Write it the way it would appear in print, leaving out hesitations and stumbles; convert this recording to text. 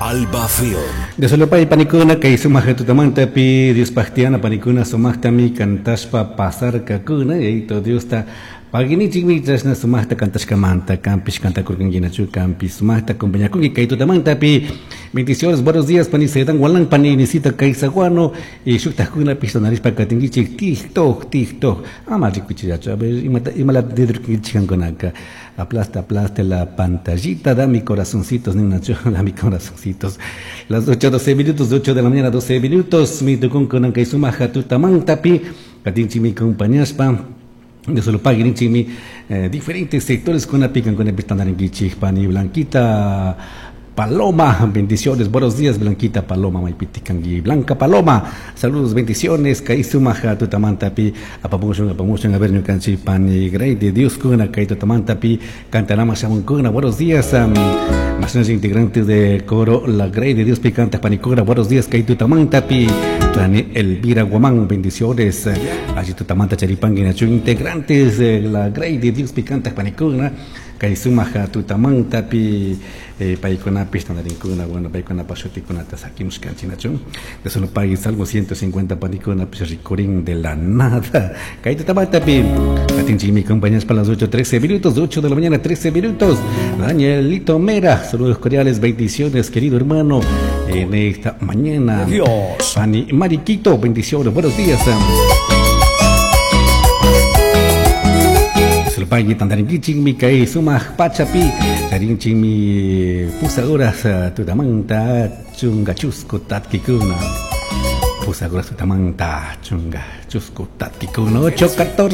Alba Film. Dios panikuna kay sumaq tutamantapi Diospaq tiyana panikuna sumaqtami kantashpa pasarkakuna Yayito Diosta paginichikmi chashna sumaqta kantashkamanta kanpish kantakurkankinachu kanpish sumaqta acompañakunki kay tutamantapi. Bendiciones, buenos días pani Sedan Walan pani Nisita Kaysaguano y shuktajkunapish tanarishpa katinkichik TikTok TikTok ama rikuchillachu a ver imata imalata nidurkankichik kankunaka. Aplasta, aplasta la pantallita, dame corazoncitos, ninachu, dame corazoncitos. Las 8, 12 minutos, 8 de la mañana, 12 minutos, mi tukunkuna kay sumaja tutamantapi, katinchimi compañaspa, de solo paguen diferentes sectores con la pican con el pani Blanquita Paloma, bendiciones, buenos días Blanquita Paloma, Maipitikangi, Blanca Paloma, saludos, bendiciones, kay sumaja tutamantapi, apamushun, apamushun, a ver, ñukanchi pani Grey de Dios kuna, kay tutamantapi, cantarama shamunkuna, buenos días, más integrantes de coro La Grey de Dios picanta panicura, buenos días, kay tutamantapi, Pani Elvira Guamán, bendiciones, allí tutamanta charipangui, nachu, integrantes de La Grey de Dios picanta panicuna, kay sumaja tutamantapi, paykunapish tantarinkuna, bueno, paykunapaj shutikunata sakimushkanchik de solo pague salvo 150 panikunapish rikurin de la nada. Kay tutamantapi, katinchikmi compañeros para las 8:13 minutos, 8 de la mañana, 13 minutos. Danielito Mera, saludos cordiales, bendiciones, querido hermano, en esta mañana. Dios. Pani Mariquito, bendiciones, buenos días. Sulpayki tantarinkichikmi kay sumaq pachapi charinchikmi pusaduras tutamanta chunga chusku tatkikuna pusaduras tutamanta chunga chusku tatkikuna 8:14.